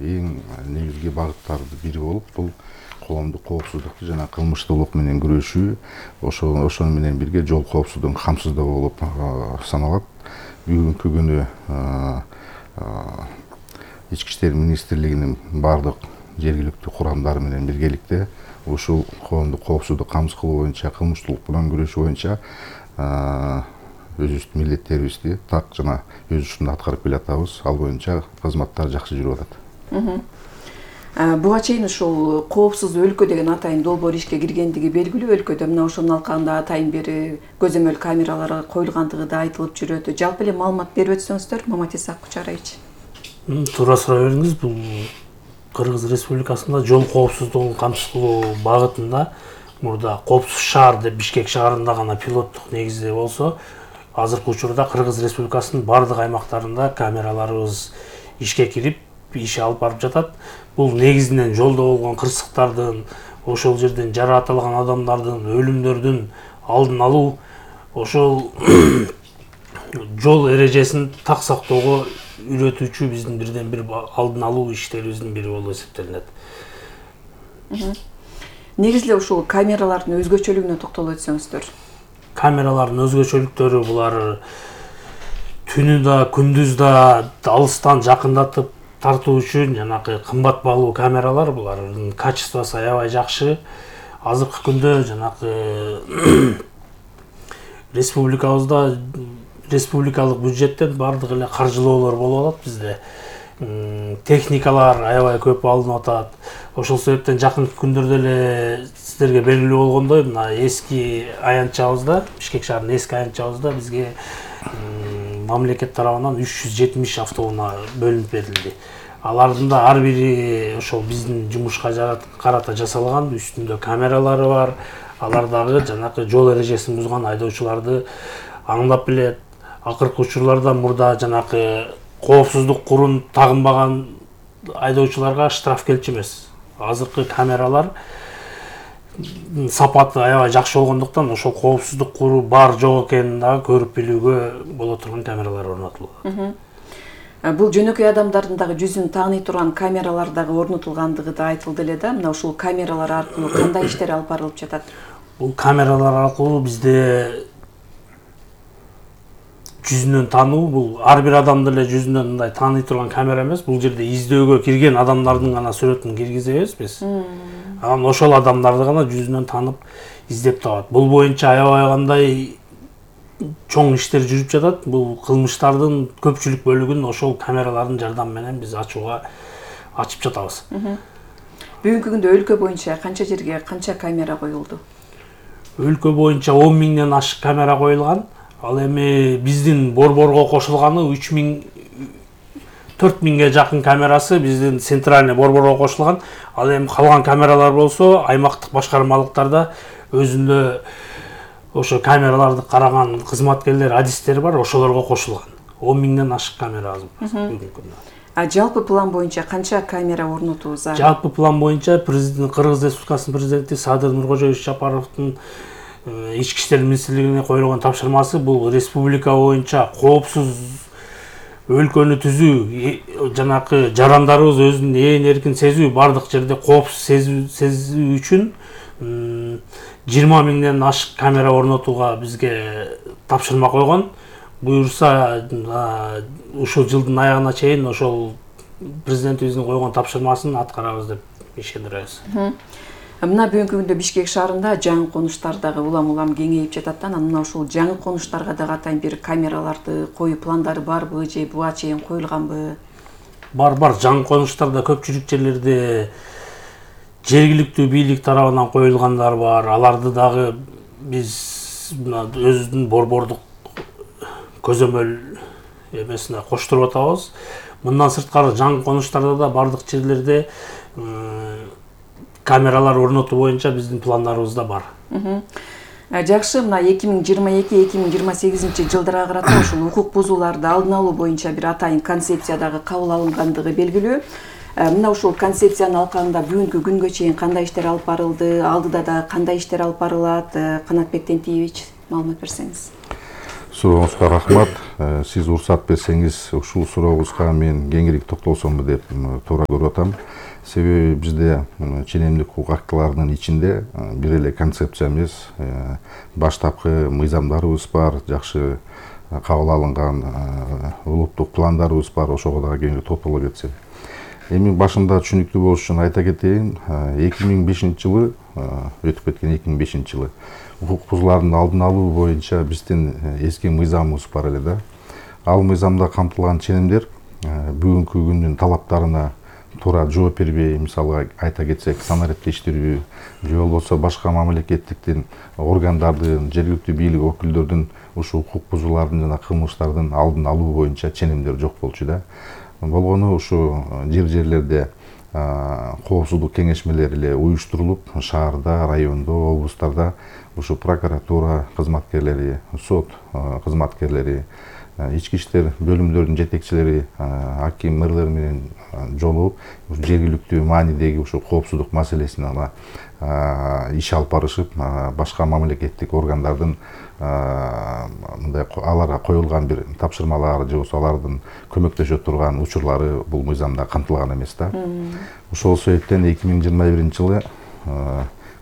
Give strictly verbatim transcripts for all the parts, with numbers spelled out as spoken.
эң негизги багыттардын бири болуп, бул коомдук коопсуздукту жана кылмыштуулук менен күрөшүү, ошо ошону менен бирге жол коопсуздугун камсыздоо болуп саналат. Бүгүнкү күнү Ички иштер министрлигинин бардык жергиликтүү курамдары менен биргеликте ушул коомдук коопсуздук камсыз кылуу боюнча, кылмыштуулук менен күрөшүү боюнча өзүбүздүн милдеттерибизди так жана өз учурунда аткарып келатабыз. Ал боюнча кызматтар жакшы жүрүп атат. Буга чейин ушул коопсуз өлкө деген атайын долбоор ишке киргендиги белгилүү. Өлкөдө мына ошонун алкагында атайын бери көзөмөл камералары коюлгандыгы да айтылып жүрөт. Жалпы эле маалымат берип өтсөңүздөр, Маматиса Кучараевич. Туура сурай бериңиз. Бул Кыргыз Республикасында жол коопсуздугун камсыз кылуу багытында мурда коопсуз шаар деп Бишкек шаарында гана пилоттук негизде болсо, азыркы учурда Кыргыз Республикасынын бардык аймактарында камераларыбыз ишке кирип, иш алып барып жатат. Бул негизинен жолдо болгон кырсыктардын, ошол жерден жаракатталган адамдардын, өлүмдөрдүн алдын алуу, ошол жол эрежесин так сактоого үйрөтүүчү биздин бирден бир алдын алуу иштерибиздин бири болуп эсептелинет. Негизи эле ушул камералардын өзгөчөлүгүнө токтолуп өтсөңүздөр. Камералардын өзгөчөлүктөрү булар түнү да, күндүз да алыстан жакындатып тартуу үчүн жанагы кымбат баалуу камералар, булардын качествосу аябай жакшы. Азыркы күндө жанагы республикабызда республикалык бюджеттен бардык эле каржылоолор болуп атат бизде. Техникалар аябай көп алынып атат. Ошол себептен жакынкы күндөрдө эле сиздерге белгилүү болгондой, мына эски аянтчабызда, Бишкек шаарынын эски аянтчабызда бизге мамлекет тарабынан үч жүз жетимиш автоунаа бөлүнүп берилди. Алардын да ар бири ошол биздин жумушка карата жасалган, үстүндө камералары бар. Алар дагы жанагы жол эрежесин бузган айдоочуларды аңдап билет. Акыркы учурларда мурда жанагы коопсуздук курун тагынбаган айдоочуларга штраф келчү эмес. Азыркы камералар сапаты аябай жакшы болгондуктан ошол коопсуздук куру бар жок экенин дагы көрүп билүүгө боло турган камералар орнотулган. Бул жөнөкөй адамдардын дагы жүзүн тааный турган камералар дагы орнотулгандыгы да айтылды эле да. Мына ушул камералар аркылуу кандай иштер алып барылып жатат? Бул камералар аркылуу бизде жүзүнөн таануу, бул ар бир адамды эле жүзүнөн мындай тааный турган камера эмес. Бул жерде издөөгө кирген адамдардын гана сүрөтүн киргизебиз биз. Анан ошол адамдарды гана жүзүнөн таанып издеп табат. Бул боюнча аябай кандай чоң иштер жүрүп жатат. Бул кылмыштардын көпчүлүк бөлүгүн ошол камералардын жардамы менен биз ачууга ачып жатабыз. Бүгүнкү күндө өлкө боюнча канча жерге канча камера коюлду? Өлкө боюнча он миңден ашык камера коюлган. Ал эми биздин борборго кошулганы үч миң төрт миңге жакын камерасы биздин центральный борборго кошулган. Ал эми калган камералар болсо аймактык башкармалыктарда өзүндө ошо камераларды караган кызматкерлер, адистер бар, ошолорго кошулган. он миңден ашык камера азыр бүгүнкү күндө. А жалпы план боюнча канча камера орнотуу зарыл? Жалпы план боюнча президент Кыргыз Республикасынын президенти Садыр Нуркожоевич Жапаровдун Ички иштер министрлигине коюлган тапшырмасы бул республика боюнча коопсуз өлкөнү түзүү, жанакы жарандарыбыз өзүн ээн эркин сезүү, бардык жерде коопсуз сезүү үчүн жыйырма миңден ашык камера орнотууга бизге тапшырма койгон. Буюрса ушул жылдын аягына чейин ошол президентибиздин койгон тапшырмасын аткарабыз деп ишендиребиз. Мына бүгүнкү күндө Бишкек шаарында жаңы конуштар дагы улам-улам кеңейип жатат да. Мына ушул жаңы конуштарга дагы атайын бир камераларды коюу пландары барбы же буга чейин коюлганбы? Бар, бар. Жаңы конуштарда көпчүлүк жерлерде жергиликтүү бийлик тарабынан коюлгандар бар. Аларды дагы биз мына өзүбүздүн борбордук көзөмөл эмесине коштуруп атабыз. Мындан сырткары жаңы конуштарда да бардык жерлерде камералар орнотуу боюнча биздин пландарыбызда бар. Жакшы, мына эки миң жыйырма эки эки миң жыйырма сегизинчи жылдарга карата ушул укук бузууларды алдын алуу боюнча бир атайын концепция дагы кабыл алынгандыгы белгилүү. Мына ушул концепциянын алкагында бүгүнкү күнгө чейин кандай иштер алып барылды, алдыда да кандай иштер алып барылат? Канатбек Тентиевич, маалымат берсеңиз. Сурооңузга рахмат. Сиз уруксат берсеңиз, ушул сурообузга мен кеңири токтолсомбу деп туура көрүп атам. Себеби бизде ченемдик укук актыларынын ичинде бир эле концепция эмес, баштапкы мыйзамдарыбыз бар, жакшы кабыл алынган улуттук пландарыбыз бар, ошого дагы кеңири токтоло кетсек. Эми башында түшүнүктүү болуш үчүн айта кетейин, эки миң бешинчи жылы, өтүп кеткен эки миң бешинчи жылы укук бузуулардын алдын алуу боюнча биздин эски мыйзамыбыз бар эле да. Ал мыйзамда камтылган ченемдер бүгүнкү күндүн талаптарына туура жооп бербей, мисалга айта кетсек, санариптештирүү же болбосо башка мамлекеттиктин органдардын, жергиликтүү бийлик өкүлдөрдүн ушул укук бузуулардын жана кылмыштардын алдын алуу боюнча ченемдер жок болчу да. Болгону ушу жер жерлерде коопсуздук кеңешмелери эле уюштурулуп, шаарда, райондо, облустарда ушу прокуратура кызматкерлери, сот кызматкерлери, ички иштер бөлүмдөрүнүн жетекчилери, аким, мэрлер менен жолугуп, жергиликтүү маанидеги ушу коопсуздук маселесин ала иш алып барышып, башка мамлекеттик органдардын мындай аларга коюлган бир тапшырмалар же болбосо алардын көмөктөшө турган учурлары бул мыйзамда камтылган эмес да. Ошол себептен эки миң жыйырма биринчи жылы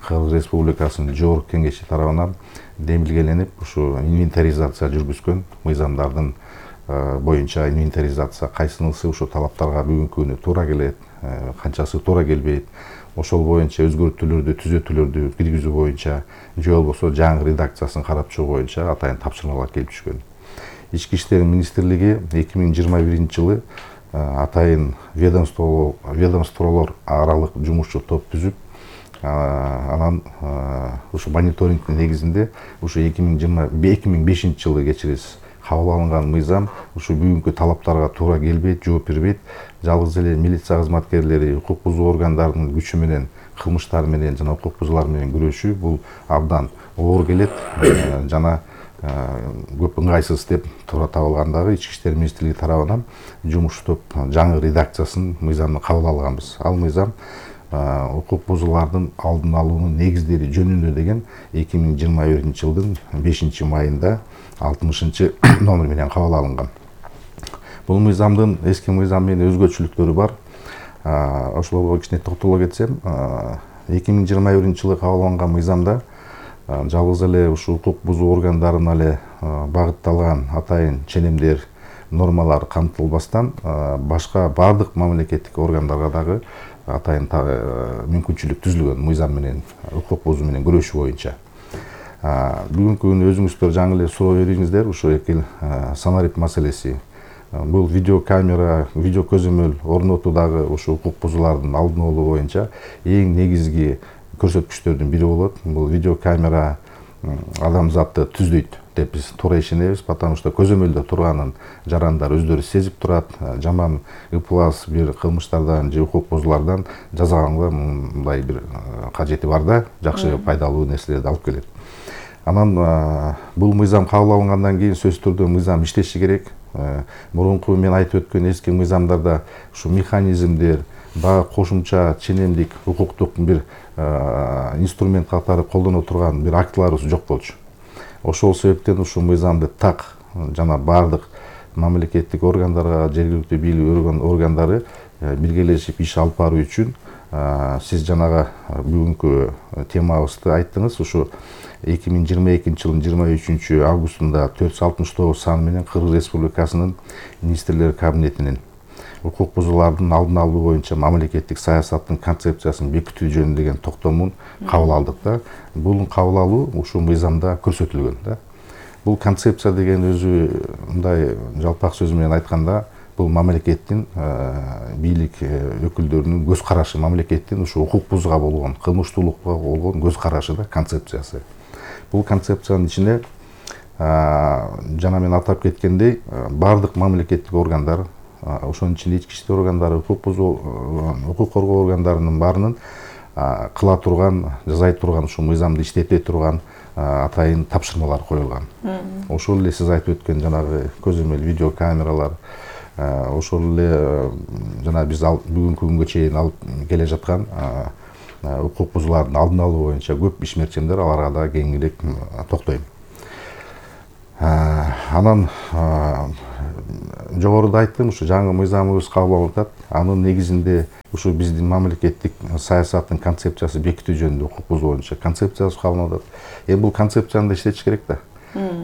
Кыргыз Республикасынын Жогорку Кеңеши тарабынан демилгеленип, ушу инвентаризация жүргүзгөн мыйзамдардын боюнча инвентаризация кайсынысы ушу талаптарга бүгүнкү күнү туура келет, канчасы туура келбейт, ошол боюнча өзгөртүүлөрдү, түзөтүүлөрдү киргизүү боюнча же болбосо жаңы редакциясын карап чыгуу боюнча атайын тапшырмалар келип түшкөн. Ички иштер министрлиги эки миң жыйырма биринчи жылы атайын ведомстволор аралык жумушчу топ түзүп, анан ушу мониторингдин негизинде ушу эки миң бешинчи жылы кечиресиз кабыл алынган мыйзам ушу бүгүнкү талаптарга туура келбейт, жооп бербейт. Жалгыз эле милиция кызматкерлери укук бузуу органдарынын күчү менен, кылмыштар менен жана укук бузуулар менен күрөшүү бул абдан оор келет жана көп ыңгайсыз деп туура табылгандагы ички иштер министрлиги тарабынан жумуш топ жаңы редакциясын мыйзамды кабыл алганбыз. Ал мыйзам укук бузуулардын алдын алуунун негиздери жөнүндө деген эки миң жыйырма биринчи жылдын бешинчи майында алтымышынчы номер менен кабыл алынган. Бул мыйзамдын эски мыйзам менен өзгөчөлүктөрү бар. Ошолорго кичине токтоло кетсем, эки миң жыйырма биринчи жылы кабыл алынган мыйзамда жалгыз эле ушу укук бузуу органдарына эле багытталган атайын ченемдер, нормалар камтылбастан башка бардык мамлекеттик органдарга дагы атайын мүмкүнчүлүк түзүлгөн мыйзам менен укук бузуу менен күрөшүү боюнча. Бүгүнкү күнү өзүңүздөр жаңы эле суроо бердиңиздер, ушул эки санарип маселеси. Бул видео камера, видео көзөмөл орнотуудагы ушу укук бузуулардын алдын алуу боюнча эң негизги көрсөткүчтөрдүн бири болот. Бул видео камера адамзатты түздөйт деп биз туура ишенебиз, потому что көзөмөлдө турганын жарандар өздөрү сезип турат, жаман ыплас бир кылмыштардан же укук бузуулардан жазганга мындай бир кажети бар да, жакшы пайдалуу нерселерди алып келет. Анан бул мыйзам кабыл алынгандан кийин сөзсүз түрдө мыйзам иштеши керек. Мурунку мен айтып өткөн эски мыйзамдарда ушу механизмдер, баа кошумча ченемдик укуктук бир инструмент катары колдоно турган бир актыларыбыз жок болчу. Ошол себептен ушул мыйзамды так жана бардык мамлекеттик органдарга, жергиликтүү бийлик органдары биргелешип иш алып баруу үчүн сиз жанагы бүгүнкү темабызды айттыңыз. Ушу эки миң жыйырма экинчи жылдын жыйырма үчүнчү августунда төрт жүз алтымыш тогуз саны менен Кыргыз Республикасынын министрлер кабинетинин укук бузуулардын алдын алуу боюнча мамлекеттик саясаттын концепциясын бекитүү жөнүндө деген токтомун кабыл алдык да. Бул кабыл алуу ушул мыйзамда көрсөтүлгөн да. Бул концепция деген өзү мындай жалпак сөз менен айтканда, бул мамлекеттин бийлик өкүлдөрүнүн көз карашы, мамлекеттин ушу укук бузууга болгон, кылмыштуулукка болгон көз карашы да, концепциясы. Бул концепциянын ичине жана мен атап кеткендей, бардык мамлекеттик органдар, ошонун ичинде ички иштер органдары, укук бузуу, укук коргоо органдарынын баарынын кыла турган, жасай турган, ушул мыйзамды иштете турган атайын тапшырмалар коюлган. Ошол эле сиз айтып өткөн жанагы көзөмөл видео камералар, ошол эле жана биз бүгүнкү күнгө чейин алып келе жаткан укук бузуулардын алдын алуу боюнча көп ишмерчимдер, аларга да кеңирээк токтойм. анан жогоруда айттым, ушу жаңы мыйзамыбыз кабыл алынып атат. Анын негизинде ушу биздин мамлекеттик саясаттын концепциясы бекитүү жөнүндө укук бузуу боюнча концепциясы кабыл алынып атат. Эми бул концепцияны да иштетиш керек да.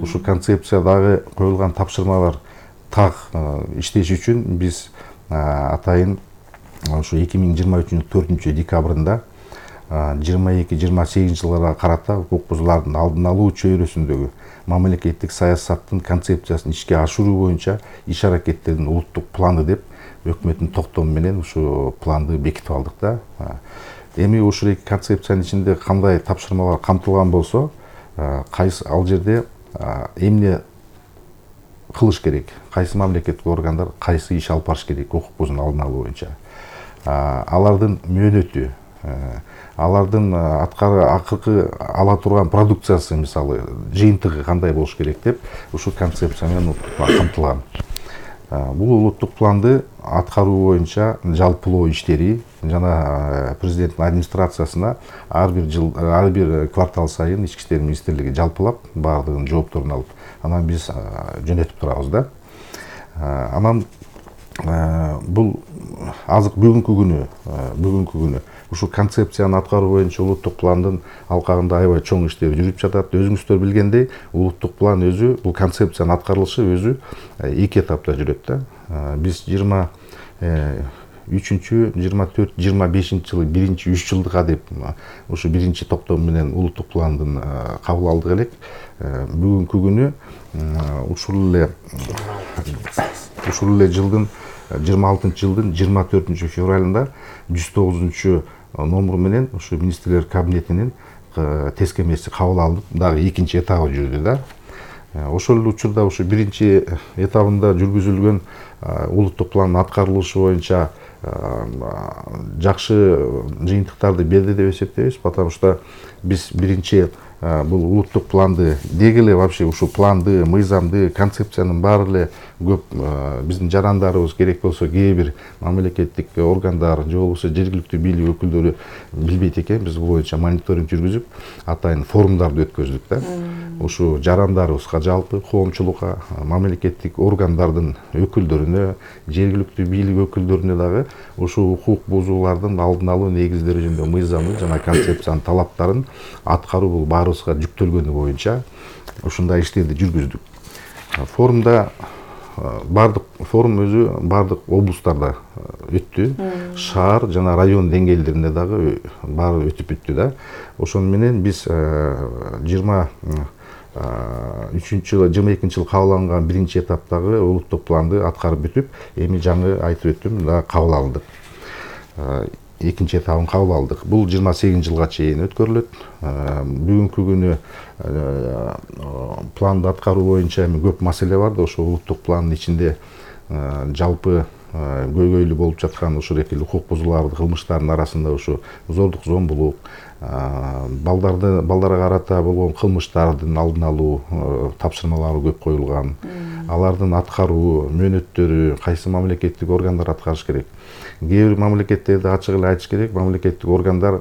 Ушу концепциядагы коюлган тапшырмалар так иштеш үчүн биз атайын ушу эки миң жыйырма үчүнүн төртүнчү декабрында жыйырма эки жыйырма сегизинчи жылдарга карата укук бузуулардын алдын алуу чөйрөсүндөгү мамлекеттик саясаттын концепциясын ишке ашыруу боюнча иш аракеттердин улуттук планы деп өкмөттүн токтому менен ушу планды бекитип алдык да. Эми ушул эки концепциянын ичинде кандай тапшырмалар камтылган болсо, кайсы ал жерде эмне кылыш керек, кайсы мамлекеттик органдар кайсы иш алып барыш керек укук бузуунун алдын алуу боюнча, алардын мөөнөтү, алардын аткары акыркы ала турган продукциясы, мисалы жыйынтыгы кандай болуш керек деп ушул концепция менен камтылган. Бул улуттук планды аткаруу боюнча жалпылоо иштери жана президенттин администрациясына ар бир жыл, ар бир квартал сайын ички иштер министрлиги жалпылап баардыгынын жоопторун алып, анан биз жөнөтүп турабыз да. Анан бул азыр бүгүнкү күнү, бүгүнкү күнү ушул концепцияны аткаруу боюнча улуттук пландын алкагында аябай чоң иштер жүрүп жатат. Өзүңүздөр билгендей, улуттук план өзү, бул концепциянын аткарылышы өзү эки этапта жүрөт да. Биз жыйырма үчүнчү, жыйырма төрт, жыйырма бешинчи жылы биринчи үч жылдыкка деп ушу биринчи токтом менен улуттук пландын кабыл алдык элек. Бүгүнкү күнү ушул эле ушул эле жылдын жыйырма алтынчы жылдын жыйырма төртүнчү февралында жүз тогузунчу номуру менен ушу министрлер кабинетинин тескемеси кабыл алынып, дагы экинчи этабы жүрдү да. Ошол эле учурда ушу биринчи этабында жүргүзүлгөн улуттук пландын аткарылышы боюнча жакшы жыйынтыктарды берди деп эсептейбиз, потому что биз биринчи бул улуттук планды деги эле вообще ушу планды, мыйзамды, концепциянын баары эле көп биздин жарандарыбыз, керек болсо кээ бир мамлекеттик органдар же болбосо жергиликтүү бийлик өкүлдөрү билбейт экен. Биз бул боюнча мониторинг жүргүзүп, атайын форумдарды өткөздүк да. Ушу жарандарыбызга, жалпы коомчулукка, мамлекеттик органдардын өкүлдөрүнө, жергиликтүү бийлик өкүлдөрүнө дагы ушу укук бузуулардын алдын алуу негиздери жөнүндө мыйзамы жана концепциянын талаптарын аткаруу бул баарыбызга жүктөлгөнү боюнча ушундай иштерди жүргүздүк. Форумда бардык форум өзү бардык облустарда өттү, шаар жана район деңгээлдеринде дагы баары өтүп бүттү да. Ошону менен биз жыйырма үчүнчү жылы, жыйырма экинчи жылы кабыл алынган биринчи этаптагы улуттук планды аткарып бүтүп, эми жаңы айтып өттүм, да кабыл алдык. Экинчи этабын кабыл алдык. Бул жыйырма сегизинчи жылга чейин өткөрүлөт. Бүгүнкү күнү планды аткаруу боюнча эми көп маселе бар да. Ошо улуттук пландын ичинде жалпы көйгөйлүү болуп жаткан ушул экил укук бузуулардын кылмыштардын арасында ушу зордук, зомбулук, балдарды балдарга карата болгон кылмыштардын алдын алуу тапшырмалары көп коюлган. Алардын аткаруу мөөнөттөрү кайсы мамлекеттик органдар аткарыш керек. Кээ бир мамлекеттерде ачык эле айтыш керек, мамлекеттик органдар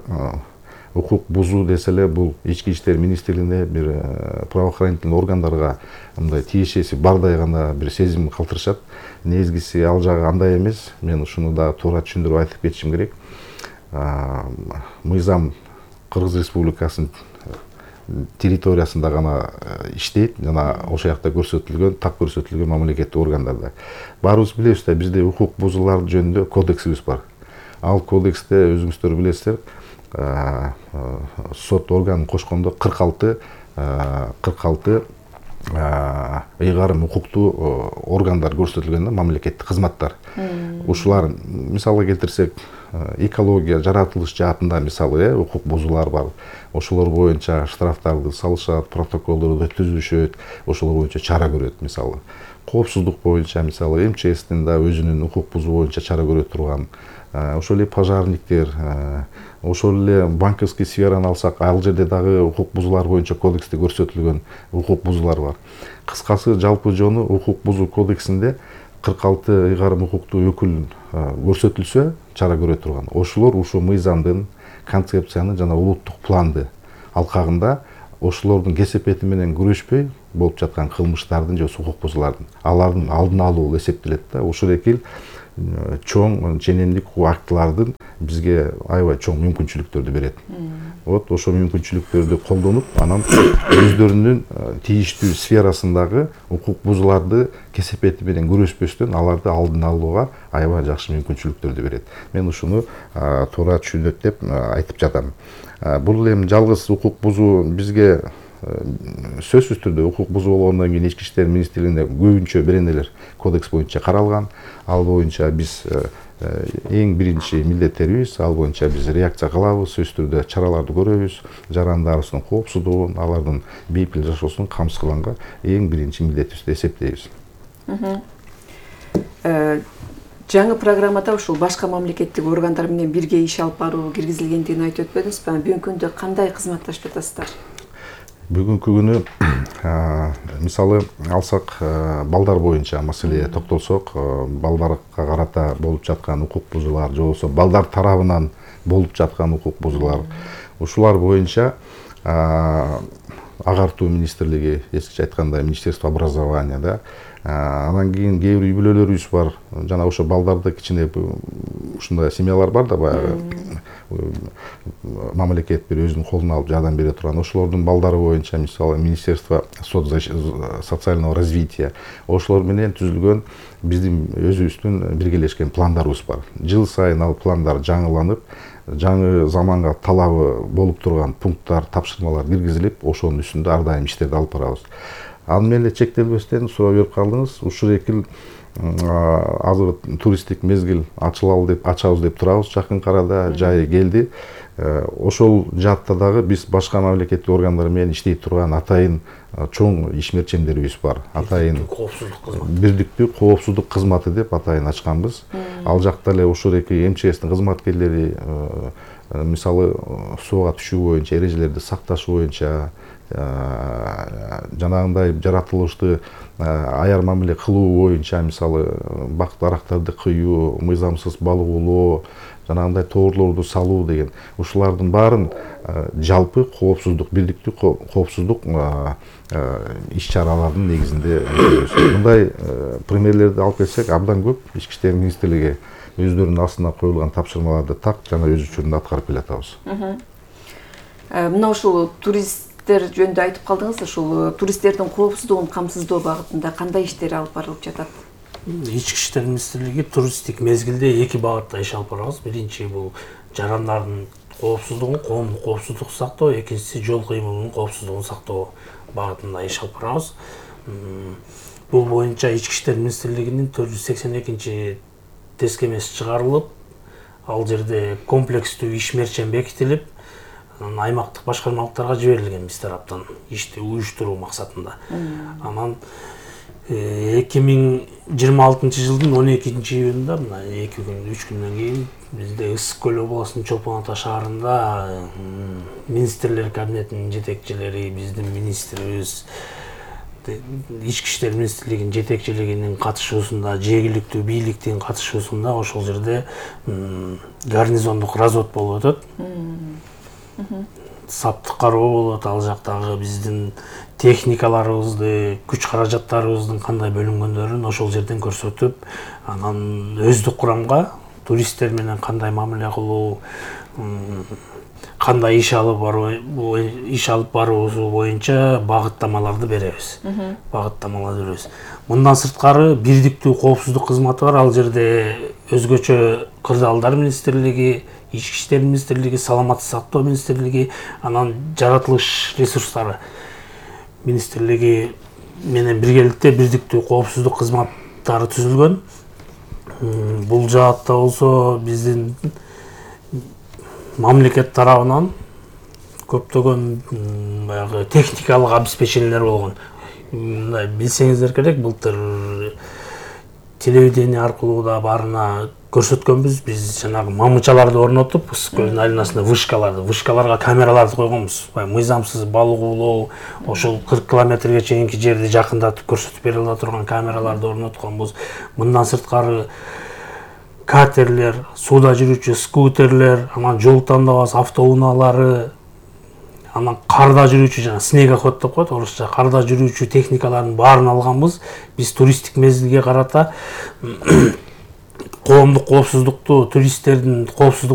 укук бузуу десе эле бул ички иштер министрлигине, бир правоохранительный органдарга мындай тиешеси бардай гана бир сезим калтырышат. Негизгиси ал жагы андай эмес. Мен ушуну дагы туура түшүндүрүп айтып кетишим керек. Мыйзам Кыргыз Республикасынын территориясында гана иштейт жана ошол жакта көрсөтүлгөн, так көрсөтүлгөн мамлекеттик органдарда. Баарыбыз билебиз да, бизде укук бузуулар жөнүндө кодексибиз бар. Ал кодексте өзүңүздөр билесиздер, сот органын кошкондо кырк алты кырк алты ыйгарым укуктуу органдар көрсөтүлгөн да, мамлекеттик кызматтар. Ушулар мисалга келтирсек, экология, жаратылыш жаатында мисалы укук бузуулар бар. Ошолор боюнча штрафтарды салышат, протоколдорду түзүшөт, ошолор боюнча чара көрөт мисалы. Коопсуздук боюнча мисалы эм че эстин да өзүнүн укук бузуу боюнча чара көрө турган, ошол эле пожарниктер, ошол эле банковский сфераны алсак, ал жерде дагы укук бузуулар боюнча кодексте көрсөтүлгөн укук бузуулар бар. Кыскасы жалпы жону укук бузуу кодексинде кырк алты ыйгарым укуктуу өкүл көрсөтүлсө чара көрө турган. Ошолор ушу мыйзамдын, концепциянын жана улуттук планды алкагында ошолордун кесепети менен күрөшпөй болуп жаткан кылмыштардын же укук бузуулардын алардын алдын алуу эсептелет да. Ушул эки чоң ченемдик актылардын бизге аябай чоң мүмкүнчүлүктөрдү берет. Вот ошол мүмкүнчүлүктөрдү колдонуп, анан өздөрүнүн тийиштүү сферасындагы укук бузууларды кесепети менен күрөшпөстөн аларды алдын алууга аябай жакшы мүмкүнчүлүктөрдү берет. Мен ушуну туура түшүнөт деп айтып жатам. Бул эми жалгыз укук бузуу бизге сөзсүз түрдө укук бузуу болгондон кийин ички иштер министрлигинде көбүнчө беренелер кодекс боюнча каралган. Ал боюнча биз эң биринчи милдеттерибиз, ал боюнча биз реакция кылабыз, сөзсүз түрдө чараларды көрөбүз, жарандарыбыздын коопсуздугун, алардын бейпил жашоосун камсыз кылганга эң биринчи милдетибиз деп эсептейбиз. Жаңы программада ушул башка мамлекеттик органдар менен бирге иш алып баруу киргизилгендигин айтып өтпөдүңүзбү? Бүгүнкү күндө кандай кызматташып жатасыздар? Бүгүнкү күнү мисалы алсак, балдар боюнча маселеге токтолсок, балдарга карата болуп жаткан укук бузуулар же болбосо балдар тарабынан болуп жаткан укук бузуулар, ушулар боюнча агартуу министрлиги, эскиче айтканда Министерство образования да, анан кийин кээ бир үй-бүлөлөрүбүз бар. Жана ошо балдарды кичине ушундай семьялар бар да, баягы мамлекет бир өзүнүн колуна алып жардам бере турган. Ошолордун балдары боюнча мисалы Министерство социального развития, ошолор менен түзүлгөн биздин өзүбүздүн биргелешкен пландарыбыз бар. Жыл сайын ал пландар жаңыланып, жаңы заманга талабы болуп турган пункттар, тапшырмалар киргизилип, ошонун үстүндө ар дайым иштерди алып барабыз. Ал менен эле чектелбестен суроо берип калдыңыз. Ушул эки азыр туристтик мезгил ачылалы деп ачабыз деп турабыз. Жакын арада жайы келди. Ошол жаатта дагы биз башка мамлекеттик органдар менен иштей турган атайын чоң ишмерчемдерибиз бар. Атайын бирдиктүү коопсуздук кызматы деп атайын ачканбыз. Ал жакта эле ошол эки эм че эстин кызматкерлери мисалы сууга түшүү боюнча эрежелерди сакташ боюнча, жанагындай жаратылышты аяр мамиле кылуу боюнча, мисалы бак дарактарды кыюу, мыйзамсыз балык оолоо, жанагындай тоорлорду салуу деген ушулардын баарын жалпы коопсуздук, бирдиктүү коопсуздук иш-чаралардын негизинде мындай примерлерди алып келсек абдан көп. Ички иштер министрлиги өздөрүнүн астына коюлган тапшырмаларды так жана өз учурунда аткарып келатабыз. Мына ушул туристтер жөнүндө айтып калдыңыз, ушул туристтердин коопсуздугун камсыздоо багытында кандай иштер алып барылып жатат? Ички иштер министрлиги туристтик мезгилде эки багытта иш алып барабыз. Биринчи бул жарандардын коопсуздугун, коомдук коопсуздукту сактоо, экинчиси жол кыймылынын коопсуздугун сактоо багытында иш алып барабыз. Бул боюнча Ички иштер министрлигинин төрт жүз сексен экинчи тескемеси чыгарылып, ал жерде комплекстүү ишмерчем бекитилип, аймактык башкармалыктарга жиберилген биз тараптан ишти уюштуруу максатында. Анан эки миң жыйырма алтынчы жылдын он экинчи июнунда, мына эки күн, үч күндөн кийин бизде Ысык көл областынын Чолпон Ата шаарында министрлер кабинетинин жетекчилери, биздин министрибиз, Ички иштер министрлигинин жетекчилигинин катышуусунда, жергиликтүү бийликтин катышуусунда ошол жерде гарнизондук развод болуп өтөт. Саптык кароо болот, ал жактагы биздин техникаларыбызды, күч каражаттарыбыздын кандай бөлүнгөндөрүн ошол жерден көрсөтүп, анан өздүк курамга туристтер менен кандай мамиле кылуу, кандай иш алып баруу, иш алып баруусу боюнча багыттамаларды беребиз. Багыттамаларды беребиз. Мындан сырткары бирдиктүү коопсуздук кызматы бар. Ал жерде өзгөчө кырдаалдар министрлиги, Ички иштер министрлиги, саламаттык сактоо министрлиги, анан жаратылыш ресурстары министрлиги менен биргеликте бирдиктүү коопсуздук кызматтары түзүлгөн. Бул жаатта болсо биздин мамлекет тарабынан көптөгөн баягы техникалык обеспечениелер болгон. Мындай билсеңиздер керек, былтыр телевидение аркылуу да баарына көрсөткөнбүз. Биз жанагы мамычаларды орнотуп, Ысык көлдүн айланасында вышкаларды, вышкаларга камераларды койгонбуз. Мыйзамсыз балык оолоо, ошол кырк километрге чейинки жерди жакындатып көрсөтүп бере ала турган камераларды орнотконбуз. Мындан сырткары катерлер, сууда жүрүүчү скутерлер, анан жол тандабас автоунаалары, анан карда жүрүүчү жана снегоход деп коет орусча, карда жүрүүчү техникалардын баарын алганбыз. Биз туристтик мезгилге карата коомдук коопсуздукту, туристтердин коопсуздук